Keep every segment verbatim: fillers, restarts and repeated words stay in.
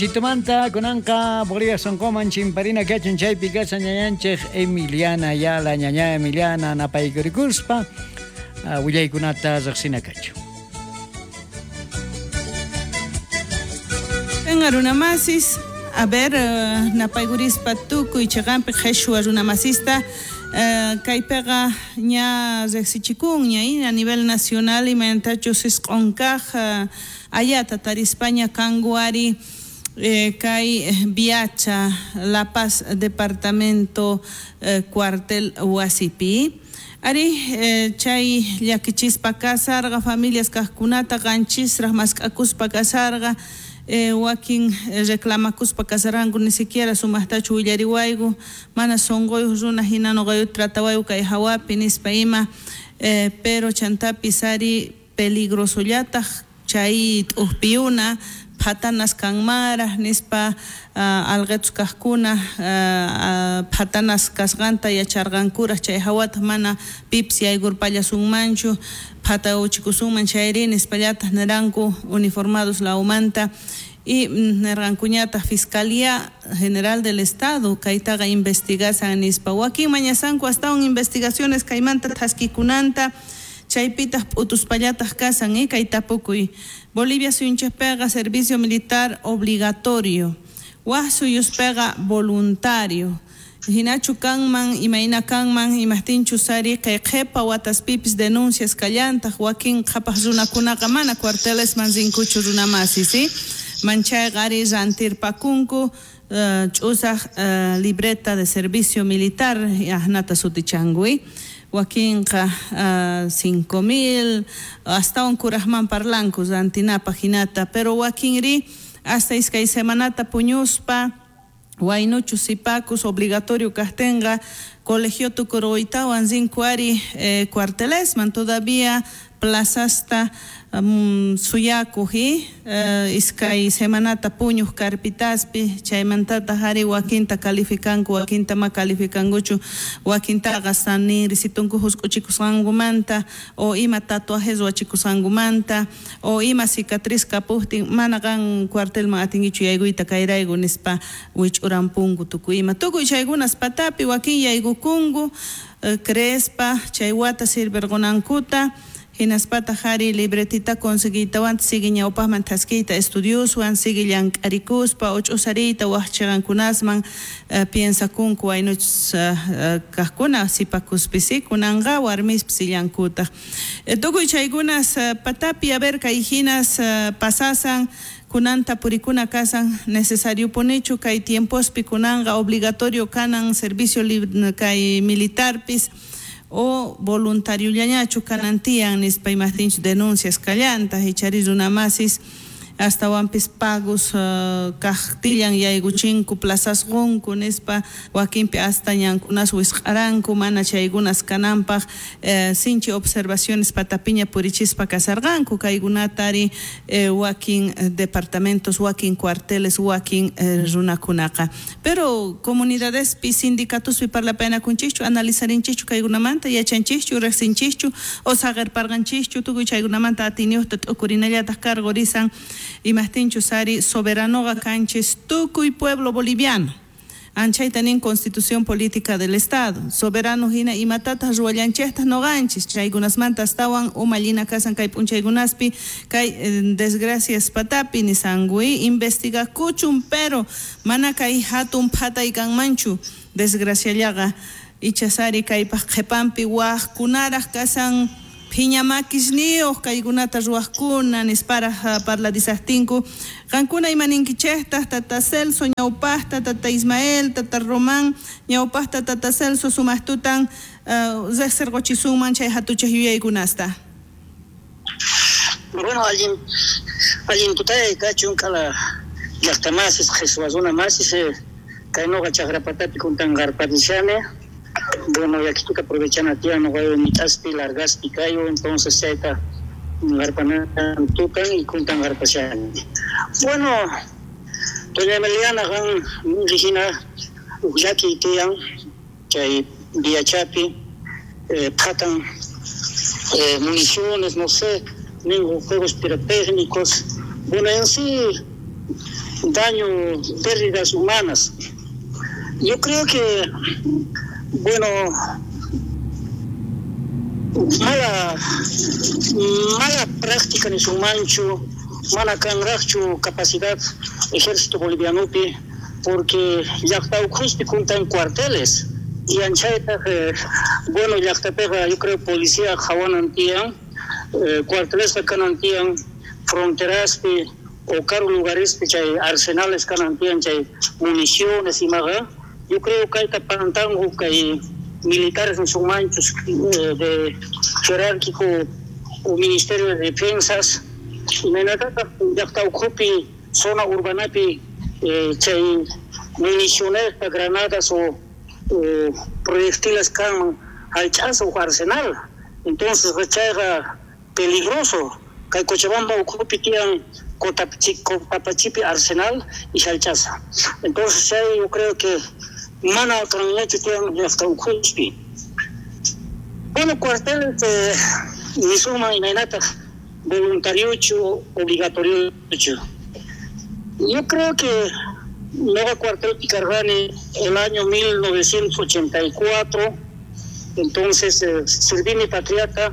Chitumanta kunanqa Bolivia sonqoman chimparina kachun chaypi kashan ñañanchej Emiliana Ayala, ñaña Emiliana napaykurikuspa uh, willaykunata riqsina kachun. Venga runamasis, a ver, uh, napaykurispa tukuy chiqanpi qheshwa runamasista uh, kaypiqa ña riqsichikunña a nivel nacional imaynatachus isq'unkaq uh, ayata tarispaña kanku ari Eh, kay Viacha, La Paz, departamento eh, cuartel wasipi. Ari eh, chay llakichispa kasarqa familias kaqkunata qanchisraq mask'akuspa kasarqa eh, wakin reclamakuspa kasaranku ni siquiera sumaqtachu willariwayku mana sunquyuq runa hina nuqayuta tratawayku kay hawapi nispa ima eh, pero chantapis ari peligrosollataq chay t'uqpiyuna phatanas kanmaraj nispa uh, alqetus kaqkuna uh, uh, phatanas kasqanta yacharqankuraj chay hawataq mana pipis yaykurpallasunmanchu phatawchikusunman chayri nispallataq niranku uniformados lawmanta y nirqankuñataq Fiscalía General del Estado kaytaqa investigasan nispa wakin mañasanku astawan investigaciones kaymanta thaskikunanta chaypitaq p'utuspallataq kasan eh, kay tapukuy Bolivia suyunchikpiqa servicio militar obligatorio waj suyuspiqa voluntario hinachu kanman imayna kanman imajtinchus ari kay qhipa wataspipis denuncias kallantaq wakin qhapaq runakunaqa mana cuartelesman rinkuchu runamasi si manchayqa ari rantirpakunku uh, ch'usaq uh, libreta de servicio militar ahnata sutichanku wakinqa uh, cinco mil astawan kuraqman parlanku rantinapaq hinata pero wakinri hasta iskay semanata puñuspa waynuchu sipakus obligatorio kaqtinqa colegio tukuruytawan rinku ari eh, cuartelesman todavía plazasta um, suyakuq uh, iskay semanata puñuq carpitaspi chaymantataq ari wakinta calificanku wakinta ma calificankuchu wakintaqa saninrisitunku husk'uchikusqankumanta o ima tatuajes ruwachikusqankumanta o ima cicatriz kapuqtin mana qan cuartelman atinkichu yaykuyta kayrayku nispa wich'urampunku tukuy ima tukuy chaykunas patapi wakin yaykukunku uh, creespa chay wata sirvirqunankuta hinaspataq ari libretita conseguiytawanta sigue ñawpaqman thaskiyta estudioswan sigue llank'arikuspa o ch'usariyta waj chiqankunasman uh, piensakunku waynuchus uh, uh, kaqkuna sipakuspis kunanqa warmispis illankutaq eh, tukuy chaykunas uh, patapi a ver kay hinas uh, pasasan kunanta purikuna kasan necesario punichu kay tiempospi kunanqa obligatorio kanan servicio kay militarpis o voluntario llañachu kanantian nispa imajtinchu denuncias kallantaq ichari runamasis astawanpis pagos uh, kaqtillan yaykuchinku plazasqunku nispa wakinpi hasta ñankunas wisq'aranku mana chaykunas kananpaq eh, sinchi observaciones patapiña purichispa kasarqanku kaykunata ari eh, wakin departamentos wakin cuarteles wakin eh, runakunaqa pero comunidadespi sindicatospi parlapaynakunchikchu analizarinchikchu kaykunamanta yachanchikchu riqsinchikchu o saqirparqanchikchu tukuy chaykunamanta atiyniyuqta t'ukurinallataq cargo risan imajtinchus ari soberanoqa kanchis tukuy pueblo boliviano anchayta nin Constitución Política del Estado soberano hina imatataq ruwallanchiktaj noqanchis chaykunasmanta astawan umallina kasan kay p'unchaykunaspi kay eh, desgracias patapi nisankuy investigakuchun pero mana kay hatun phatay kanmanchu desgraciallaqa ichasari kaypaq qhipanpi wajkunaraq kasan phiñamakisniyuq kaykunata ruwaqkuna nisparaq parlarisaqtinku qankuna imaninkichejtaq tata Celso ñawpaqta tata Ismael tata Román ñawpaqta tata Celso sumaqtutan uh, riqsirquchisunman chay hatuchaq yuyaykunasta. Bueno, allin allin tutay kachun kala llaqtamasis qhishwa runamasis kay nuqa chaqrapatapi kuntanqarparishani. Bueno, yakituta aprovechana tiyan nuqayu mitaspi largaspi kayu entonces chayta qarpanan tukan y kuntanqarpashani. Bueno, doña Emiliana qan hina uq llakiy tiyan chay Viachapi eh, phatan eh, municiones, no sé, ningún juegos pirotécnicos. Bueno, en sí Daño, pérdidas humanas. Yo creo que, bueno, mala, mala práctica en su mancho, mala kanraqchu capacidad ejército bolivianopi, porque llaqta ukhuspi kuntan cuarteles y anchaytaq, eh, bueno, llaqtapiqa yo creo policía qhawanan tiyan, eh, cuartelesqa kanan tiyan, fronteraspi o karu lugarespi chay arsenales kanan tiyan, chay municiones imaqa. Yo creo kayta pantanku kay militares nisunmanchus, eh, de jerárquico o Ministerio de Defensas, imaynatataq llaqta ukhupi zona urbanapi, eh, chay municiones, granadas o, o proyectiles kanman hallch'asqa uj arsenal. Entonces chayqa peligroso. Kay Cochabamba ukhupi tiyan Cotapachipi arsenal y hallch'asqa. Entonces chay yo creo que mana kanñachu tiyan llaqta ukhupi. Bueno, cuarteles, eh, nisuma imaynataq voluntariochu, obligatoriochu. Yo creo que Nueva Cuartel Picargani el año mil novecientos ochenta y cuatro, entonces, eh, serví mi patriota.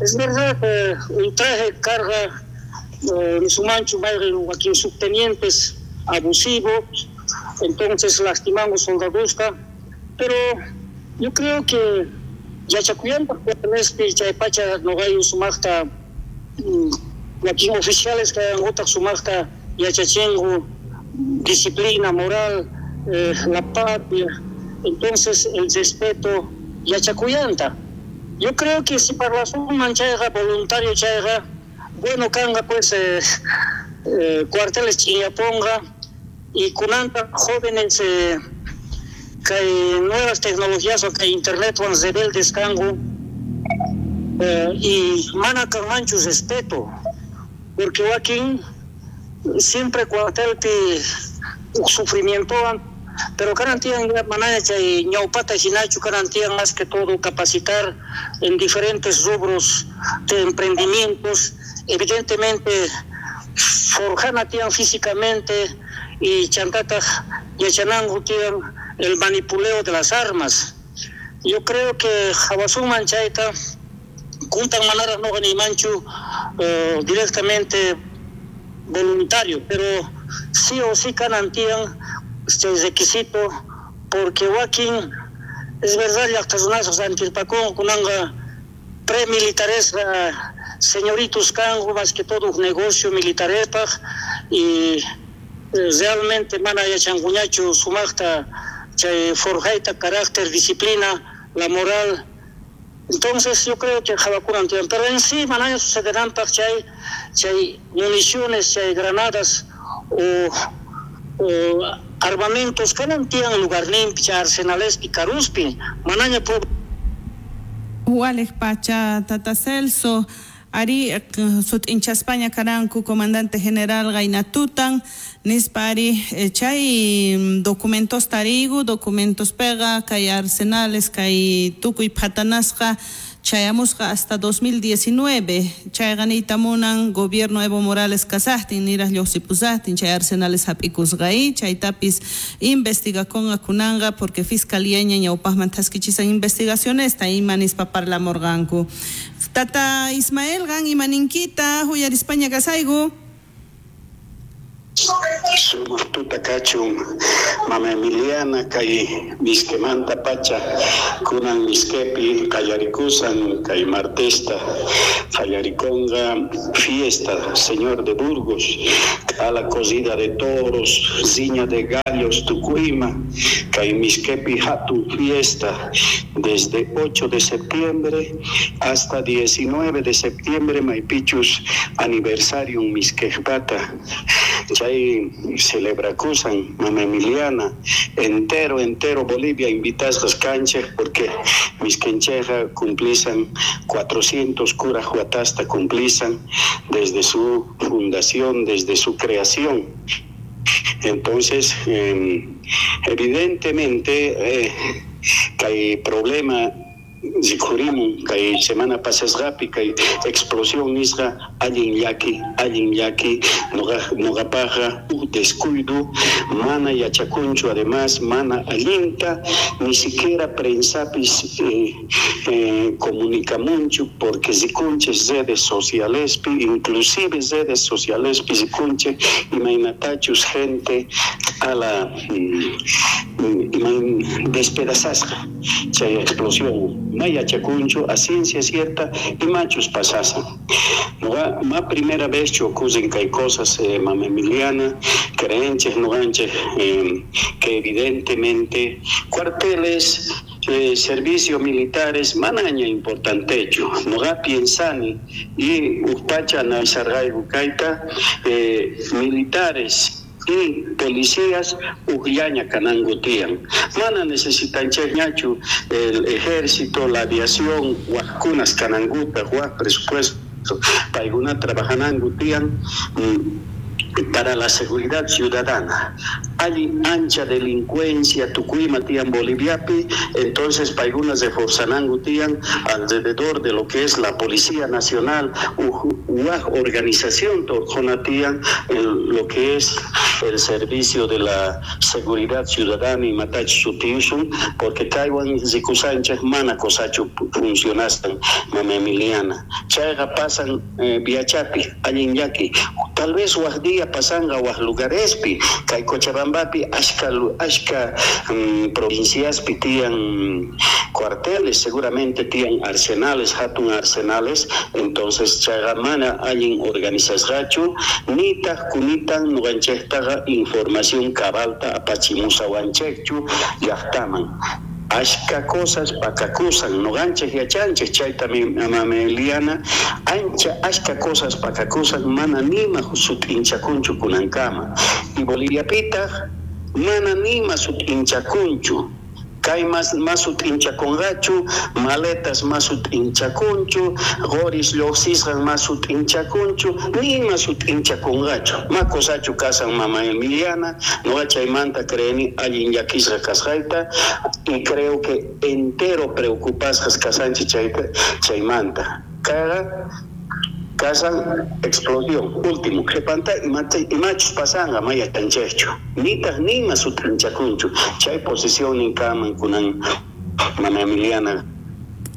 Es verdad, eh, un traje carga, eh, su mancho, madre, aquí subtenientes abusivos, entonces lastimamos soldadusca, pero yo creo que Yachacuyan, porque Chaypacha, Nogayo, Sumacta, aquí oficiales que han otras Sumacta, Yachachengo, disciplina moral, eh, la patria, entonces el respeto Yachacuyanta. Yo creo que si para la suma chayga, voluntario chayga, bueno, canga pues, eh, eh, cuarteles Chiñaponga y kunanta jóvenes, eh, que hay nuevas tecnologías o que internet van rebeldes cango, eh, y mana canmanchu respeto, porque aquí siempre cuartelpi sufrimiento, pero garantían manaya chay ñawpata hinachu, garantían más que todo capacitar en diferentes rubros de emprendimientos, evidentemente forjanatian físicamente y chantata yachanangu tian el manipuleo de las armas. Yo creo que Jawasuman chayta kuntan manara no ganimanchu, eh, directamente voluntario, pero sí o sí canantían este requisito, porque wakin es verdad llaqtarunasos antirpacón kunanga premilitares señoritos kangu más que todo un negocio militarepaj y realmente mana yachankuñachu sumaqta chay forjayta carácter, disciplina, la moral. Entonces yo creo que jawakunan tiyan, pero en sí manaña sucederán paj chay, chay municiones, chay granadas o, o armamentos kanan tiyan lugarninpi, chay arsenalespi, karuspi, manaña pueblo. Walej pacha tata Celso, ari sut'inchaspaña karanku comandante general Gainatutan, nispari chay documentos tarigu, documentos pega, kay arsenales, kay tukuy phatanasqa, chayamusqa hasta dos mil diecinueve, chay ganita munan gobierno Evo Morales kasajtin, niraj lluqsipusajtin, chay arsenales hap'ikusqaí, chaytapis investigakonqa kunanqa, porque fiscalía ña ñawpaqman thaskichisan investigacionesta, ima nispa parlamurqanku. Tata Ismael gan imaninkita huyarispaña kasayku. Sumaq tuta kachun mama Emiliana kay miskemanta pacha kunan miskepi qallarikusan kay martesta qallarikonqa fiesta Señor de Burgos, a la corrida de toros, riña de gallos tukuima kay miskepi hatun fiesta desde ocho de septiembre hasta diecinueve de septiembre maypichus aniversarium miskejpata. Chay celebrakusan mama Emiliana entero entero Bolivia invitasqas kanchej porque miskencheja cumplisan cuatrocientos kuraj watasta cumplisan desde su fundación, desde su creación. Entonces, eh, evidentemente eh, que hay problema rikhurimun kay semana pasasqapi kay explosión nisqa allin llaki allin llaki noqa noqapaqqa uj descuido mana yachakunchu además mana allinta ni siquiera prensapis eh, eh, comunicamunchu porque rikunchis redes socialespi inclusive redes socialespi rikunchik imaynatachus gente a la mm, imayn despedazasqa chay explosión ma yachakunchu a ciencia cierta imachus pasasan noqa ma primera vez chu ocurren kay cosas eh, mama Emiliana creenchej noqanchej eh, que evidentemente cuarteles eh, servicios militares manaña importantechu noqa piensani y uj analizarqayku kayta eh, militares y policías ujllaña kananku tiyan mana necesitanchejñachu el ejército, la aviación wajkunas kanankuta waj presupuesto paykuna trabajananku tiyan para la seguridad ciudadana. Hay ancha delincuencia tukuyma tiyan Boliviapi, entonces paykuna reforzananku tiyan alrededor de lo que es la Policía Nacional, uj organización torjona tiyan lo que es el servicio de la seguridad ciudadana y matach sutiusun, porque kaywan rikusanchej mana kosachu funcionastan mama Emiliana. Chayqa pasan eh, Viachapi, allin llaki, tal vez waj día pasanqa waj lugarespi, kay Cochabambapi ashka ashka um, provinciaspi tiyan cuarteles, seguramente tiyan arsenales, hatun arsenales, entonces chayqa mana allin organizasqachu, nitaq kunitan nuqanchejtaqa información cabalta apachimusawanchejchu llaqtaman. Ashka cosas pakakusan, noqanchej yachanchej chayta mama Eliana, ancha ashka cosas pakakusan mana nima sut'inchakunchu kunankama. Y Boliviapitaq mana nima sut'inchakunchu. Kay mas mas sut'inchakunqachu, maletas mas sut'inchakunchu, qoris lluqsisqan mas sut'inchakunchu, nima sut'inchakunqachu. Ma kosachu kasan mama Emiliana, noqa chaymanta creeni allin llakisqa kasqayta y creo que entero preocupasqas kasanchik chayta chaymanta. Kayqa kasan explosión último qhipanta imachus pasanqa ma yachanchejchu nitaq nima sut'inchakunchu chay posición ninkaman kunan mama Emiliana.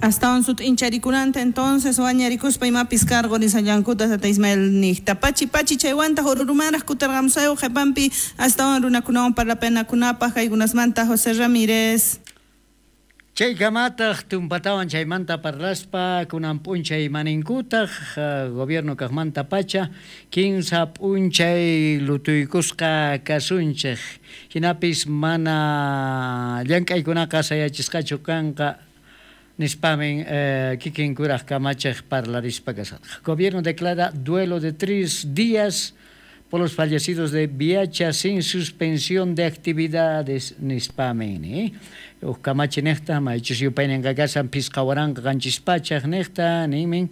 Astawan sut'incharikunanta entonces wañarikuspa imapis cargo nisallankuta tata Ismael niqta pachi pachi chaywanta ururumanraq kutarqamusayku qhipanpi astawan runakunawan parlapanakunapaq kaykunasmanta José Ramírez. Chaykamataq tumpatawan chaymanta parlaspa kunan p'unchay maninkutaq gobierno kaqmanta pacha kinsa p'unchay lutuykusqa kasunchej hinapis mana llank'aykunaqa sayachisqachu kanqa nispamin eh, kikin kuraj kamachej parlarispa kasarqa. Gobierno declara duelo de tres días por los fallecidos de Viacha sin suspensión de actividades nispamin, eh? Uj kamachi nejta, maychus yupayninqa kasan phisqa waranqa qanchis pachaj nejta, nimin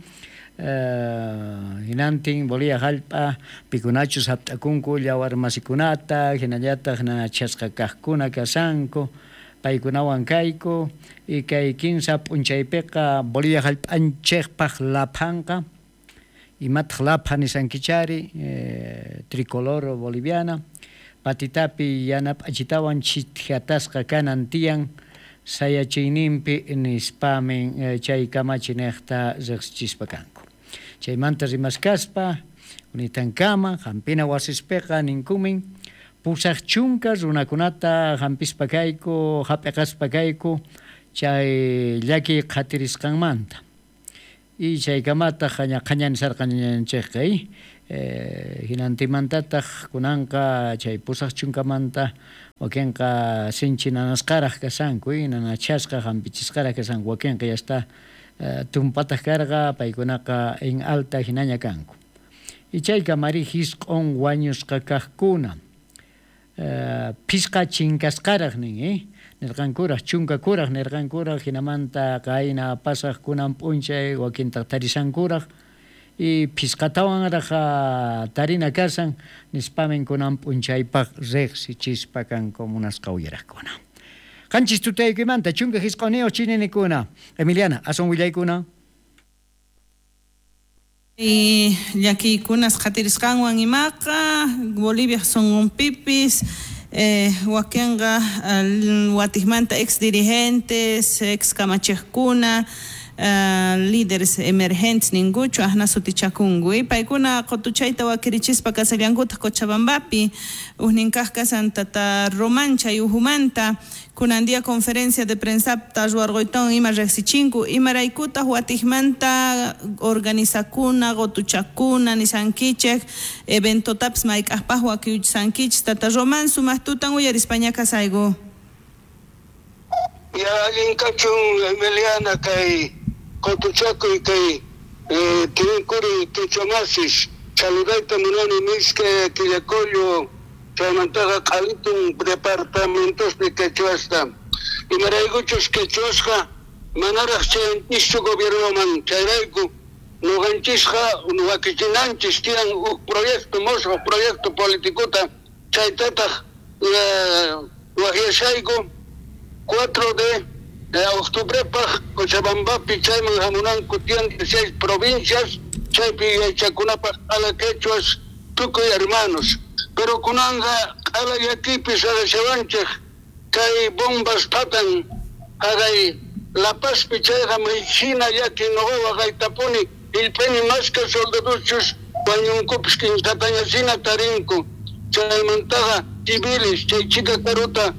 uh, hinantin Bolivia hallp'a pikunachus hapt'akunku llawarmasikunata, hinallataq nanachasqa kaqkuna kasanku, paykunawan kayku, y kay kinsa p'unchaypiqa Bolivia hallp'anchikpaq laphanqa, imataq lapha nisankichari, eh, tricolor boliviana, patitapi yanap'achitawan chithatasqa kanan tiyan sayachiyninpi nispamin eh, chay kamachi nejta riqsichispa kanku. Chaymanta rimaskaspa unitankama hampina wasispiqa ninkumin pusaq chunka runakunata hampispa kayku hap'iqaspa kayku chay llaki qhatirisqanmanta. Y chaykamataq qhañanisarqa ñañanchikqa eh, hinantimantataq kunanqa chay pusaq chunkamanta wakinqa sinchi nanasqaraq kasanku, nanachasqa hampichisqaraq kasanku, wakinqa ya está eh, tumpataq karqa paykunaqa en alta hinaña kanku. Y chaykamari hisq'un wañusqa kaqkuna eh, phisqa chinkasqaraq nin, eh? Nirqankuraq chunkakuraq nirqankuraq hinamanta qayna pasaq kunan p'unchay wakintaq tarisankuraq y phisqatawanraq tarina kasan nispamin kunan p'unchaypaq riqsichispa kanku munasqa uyaraqkuna. Qanchis tutaykuymanta chunka hisq'uniyuq chininikuna. Emiliana, asun willaykuna. Y llakiykunas qhatirisqanwan imaqa Bolivia sunqunpipis eh, wakinqa watikmanta ex dirigentes, ex kamachiqkuna, Uh, líderes emergentes ninguchu ahna sutichakunku y paykuna qotuchayta wakirichispa kasallankutaq Cochabambapi ujninkaq kasan tata Román chay ujumanta kunan día conferencia de prensa ruwarquytawan ima riqsichinku imaraykutaq watikmanta organizakuna qotuchakuna nisankichik eventotapis mayk'aqpaq wakiuchisankichik tata Román sumaq tutan uyarispaña kasayku. Ya allin kachun Emiliana kay qotuchakuy kay tinkuri quechuamasis saludayta munani miske Quillacollo chaymantaqa q'alitun departamentospi quechuasta imaraykuchus quechuasqa manaraq chayanchischu gobiernoman chayrayku nuqanchisqa wakichinanchis tiyan huk proyecto mosqo proyecto politicota chaytataq waqyashayku cuatro de octubrepaj Cochabambapi chayman hamunanku tiyan seis provincias chaypi yachakunapaj q'ala quechuas tukuy hermanos pero kunanqa q'ala llakipi sarashawanchik kay bombas patan haqay La Pazpi chayqa maychina llaki nuqa waqaytapuni illpini mashka soldadoschus wañunkupis kinsatañasina tarinku chaymantaqa civiles chay chika karuta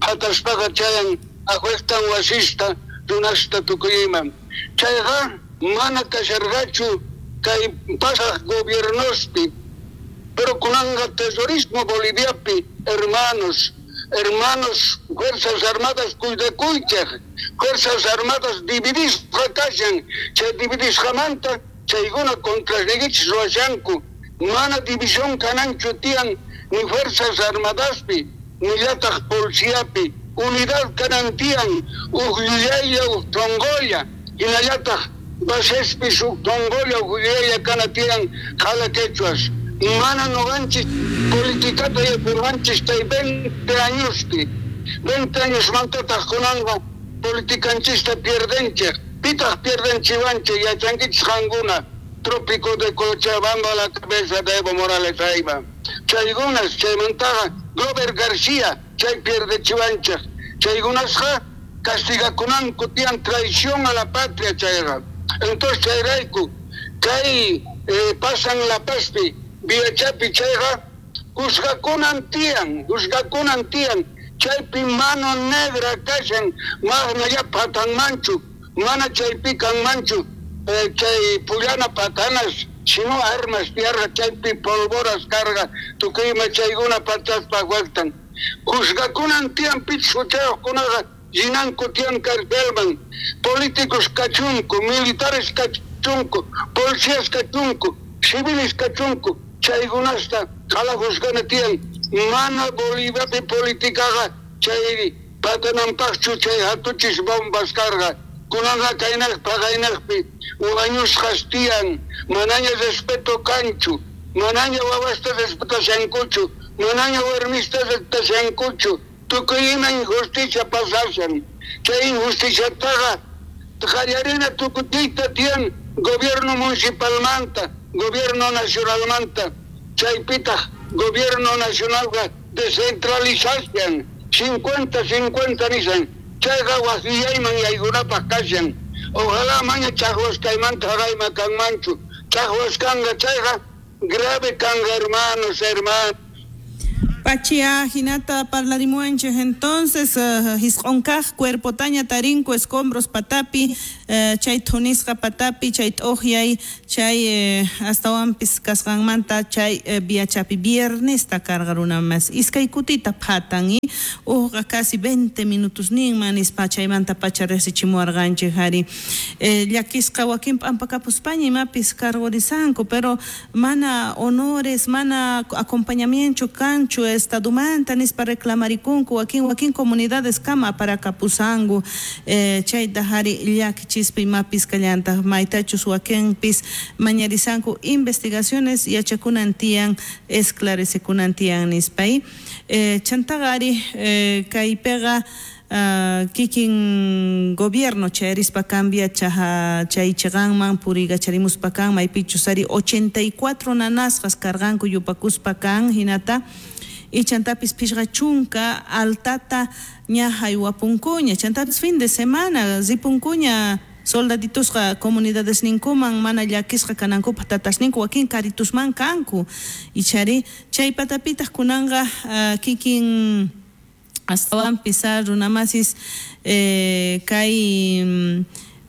phataspaqa chayan ajuestan wasista runasta tukuyman chayqa mana kasharqachu kay pasaq gobiernospi pero kunanqa terrorismo Boliviapi hermanos hermanos fuerzas armadas cuidakuychej fuerzas armadas dividisqa kashan chay dividisqamanta chaykuna contrasniykichis ruwashanku mana división kananchu tiyan ni fuerzas armadaspi nillataq policiapi unidad kanan tiyan uj yuyaylla uj tongolla hinallataq basespis uj tongolla uj yuyaylla kana tiyan q'ala quechuas mana nuqanchis politikata yapurqanchis chay veinte añospi veinte añosmantataq kunanqa politikanchista pierdenchej pitaq pierdenchiwanchej yachankichis qankuna trópico de Cochabamba la cabeza de Evo Morales ayma chaykunas chaymantaqa Glover García chay pierdechiwanchej chaykunasqa castigakunanku tiyan traición a la patria chayqa entonces chayrayku kay eh, pasan La Pazpi Villachapi chayqa juzgakunan tiyan juzgakunan tiyan chaypi mano negra kashan mana patanmanchu mana chaypi kanmanchu eh, chay pullana patanas sino armas tierra chaypi polvoras carga tukuyma chaykuna pataspa waqtan juzgakunan tiyan pichus huchayuqkunaqa llinanku tiyan carcelman políticos kachunku militares kachunku policías kachunku civiles kachunku chaykunasta q'ala juzgana tiyan mana Boliviapi politikaqa chay patananpaqchu chay hatuchis bombas karqa kunanqa kaynaqpi paqaynaqpi wañusqas tiyan manaña respeto kanchu manaña wawasta respetashankuchu manaña warmista respetashankuchu tukuy ima injusticia pasashan chay injusticiataqa qallarina tukutiyta tiyan gobierno municipalmanta gobierno nacionalmanta chaypitaq gobierno nacionalqa descentralizashan cincuenta cincuenta nishan chayqa wasiyayman yaykunapaq kashan ojalá maña chaqwaskaymanta haqayma kanmanchu chaqwaskanqa chayqa grave kanqa hermanos hermanos. Pachia hinata parlarimuanchej entonces uh, hisq'unkaq cuerpotaña tarinku escombros patapi uh, chay thunisqa patapi chay t'uqyay chay uh, astawanpis kasqanmanta chay uh, viachapi viernesta karqa runa mas iskay kutita phatan y uqqa casi veinte minutos ninman nispa chaymanta pacha riqsichimuwarqanchik ari eh, llakisqa wakin p'ampakapuspaña imapis cargorisanku pero mana honores mana acompañamiento kanchu estadumanta nispa reclamarikunku wakin wakin comunidades kama para kapusangu eh, chayta hari llakichispa imapis kallantaq maytachus wakinpis mañarisanku investigaciones yachakunan tiyan esclarecekunan tiyan nispa. Eh, chantaqa ari eh, kaypiqa Uh, kikin gobierno chayarispa cambia chaha chay chiqanman puriykacharimuspa kan maypichus ari ochenta y cuatro nanasqas karqanku yupakuspa kan hinata y chantapis phishqa chunka altata ña haywapunkuña chantapis fin de semana ripunkuña soldaditusqa comunidades ninkuman mana llakisqa kanankupaq tatasninku wakin karitusman kanku ichari chay patapitaq kunanqa uh, kikin astawanpis runamasis eh, kay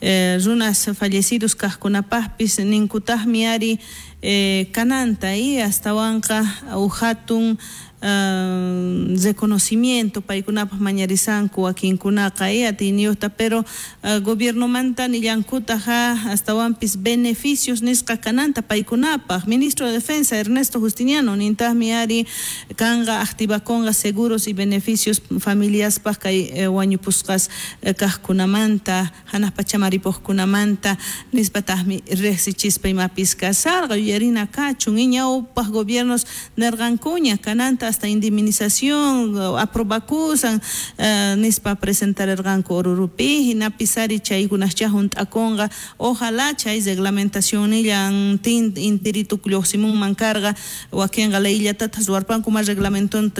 eh, runas fallecidos kaqkunapaqpis ninkutaqmi ari eh, kananta y astawanqa uhatun Uh, reconocimiento paykunapaq mañarisanku wakinkunaqa y atiyniyuqta pero uh, gobiernomanta nillankutaqa astawanpis beneficios nisqa kananta paykunapaq. Ministro de Defensa Ernesto Justiniano nintaqmi ari kanqa activakunqa seguros y beneficios familiaspaq kay eh, wañupusqas eh, kaqkunamanta hanaq pachaman ripuqkunamanta nispataqmi riqsichispa imapis kasarqa yuyarina kachun y ñawpaq gobiernos nirqankuña kananta hasta indemnización aprobakusan uh, nispa presentarerqanku Orurupi hinapis ari chaykunascha hunt'akunqa ojalá chay reglamentacionnillan tin intirituk lluqsimunman karqa wakinqa leyllatataq ruwarpanku ma reglamentonta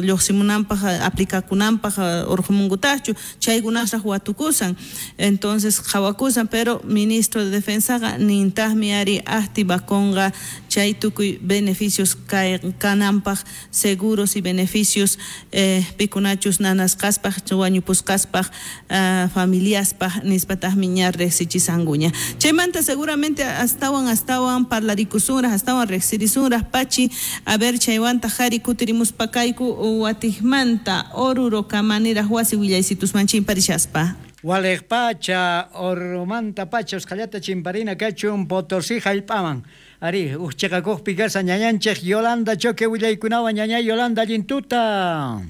lluqsimunanpaq aplicakunanpaq urqumunkutaqchu chaykunasraq watukusan entonces qhawakusan pero ministro de Defensaqa nintaqmi ari activakunqa chay tukuy beneficios kananpaq seguros y beneficios eh, pikunachus nanasqaspaq wañupusqaspaq uh, familiaspaq nispataqmi ña riqsichisankuña chaymanta seguramente astawan astawan parlarikusunraq astawan riqsirisunraq pachi a ver chaywantaq ari kutirimuspa kayku watiqmanta Oruro kamaniraq wasi willaysitusman chimparishaspa. Waliq pacha Orurumanta pacha usqhallata chimparina kachun Potosí hallp'aman ari uqchiqakuqpi kashan ñañanchik Yolanda Choque willaykunawan ñañay Yolanda allintuta.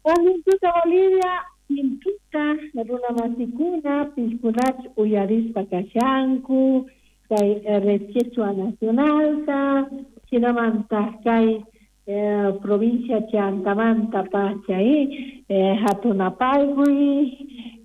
Allintuta Bolivia intuta runamasikuna piskunach uyarispa kashanku kay Red Quechua Nacionalta hinamantaq kay eh, provincia Chantamanta pacha eh, hatunapaykuy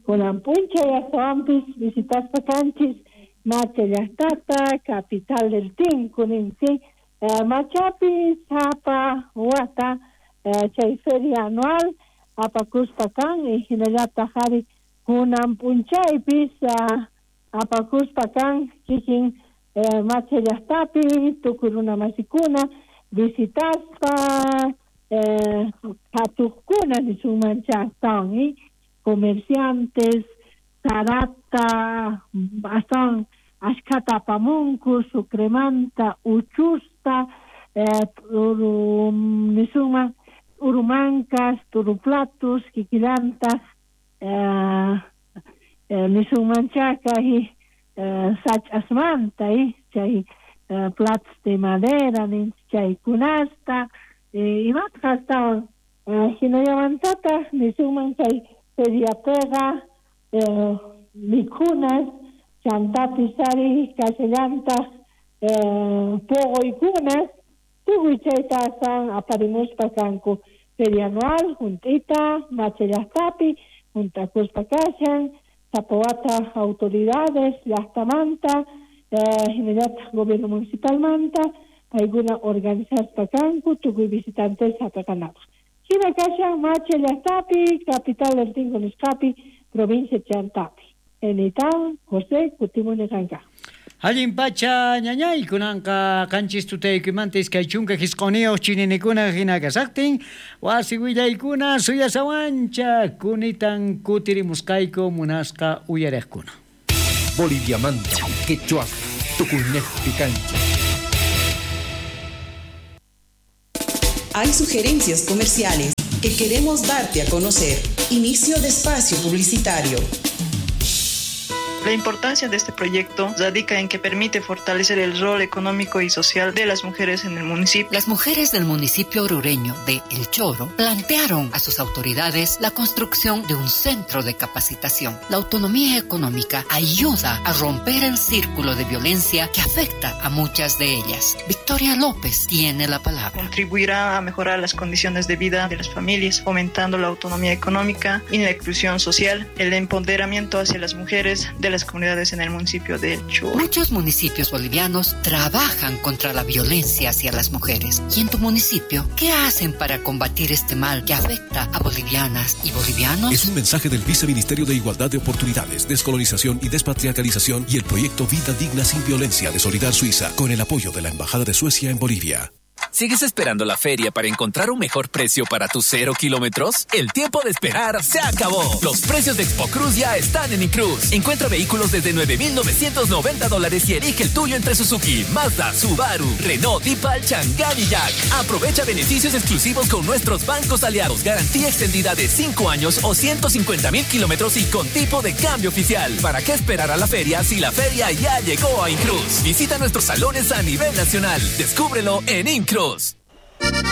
kunan p'unchay astawanpis visitaspa kanchis Macha llaqtata, capital del Tinku ninsi, eh, Machapi sapa wata eh, chay feria anual apakuspa kan y hinallataq ari kunan p'unchaypis uh, apakuspa kan kikin eh, Macha llaqtapi tukuy runamasikuna visitaspa eh, qhatuqkuna nisunmancha astawan eh, comerciantes sarata astawan ashkhata apamunku sucremanta uchusta eh, uru, nisunman urumancas turuplatus kikillantaq eh, eh, nisunmancha kay eh, sach'asmanta eh, chay eh, platos de madera ninchik chaykunasta eh, imataq astawan eh, hinallamantataq nisunman chay feriapiqa eh, mikhunas chantapis ari kashallantaq eh, puquykunas tukuy chayta astawan aparimuspa kanku feria anual junt'ita Macha llaqtapi junt'akuspa kashan sapa wata autoridades llaqtamanta eh, hinallataq gobierno municipalmanta paykuna organizaspa kanku tukuy visitantes hap'iqanapaq hina kashan Macha llaqtapi capital del Tinku nisqapi provincia Chantapi. Enitan José kutimuni qanka. Allin pacha ñañay kunanqa qanchis tutaykumanta iskay chunka hisq'uniyuq chininikuna hina kasaqtin wasi willaykuna suyasawancha kunitan kutirimusqayku munasqa uyariqkuna. Boliviamanta quechua tukuynejpi kancha. Hay sugerencias comerciales que queremos darte a conocer. Inicio de espacio publicitario. La importancia de este proyecto radica en que permite fortalecer el rol económico y social de las mujeres en el municipio. Las mujeres del municipio orureño de El Choro plantearon a sus autoridades la construcción de un centro de capacitación. La autonomía económica ayuda a romper el círculo de violencia que afecta a muchas de ellas. Victoria López tiene la palabra. Contribuirá a mejorar las condiciones de vida de las familias, fomentando la autonomía económica y la inclusión social, el empoderamiento hacia las mujeres de las comunidades en el municipio de El Choro. Muchos municipios bolivianos trabajan contra la violencia hacia las mujeres. ¿Y en tu municipio qué hacen para combatir este mal que afecta a bolivianas y bolivianos? Es un mensaje del Viceministerio de Igualdad de Oportunidades, Descolonización y Despatriarcalización y el proyecto Vida Digna sin Violencia de Solidar Suiza, con el apoyo de la Embajada de Suecia en Bolivia. ¿Sigues esperando la feria para encontrar un mejor precio para tus cero kilómetros? El tiempo de esperar se acabó. Los precios de Expo Cruz ya están en Incruz. Encuentra vehículos desde nueve mil novecientos noventa dólares y elige el tuyo entre Suzuki, Mazda, Subaru, Renault, Deepal, Chang'an y Jack. Aprovecha beneficios exclusivos con nuestros bancos aliados. Garantía extendida de cinco años o ciento cincuenta mil kilómetros y con tipo de cambio oficial. ¿Para qué esperar a la feria si la feria ya llegó a Incruz? Visita nuestros salones a nivel nacional. Descúbrelo en Incruz.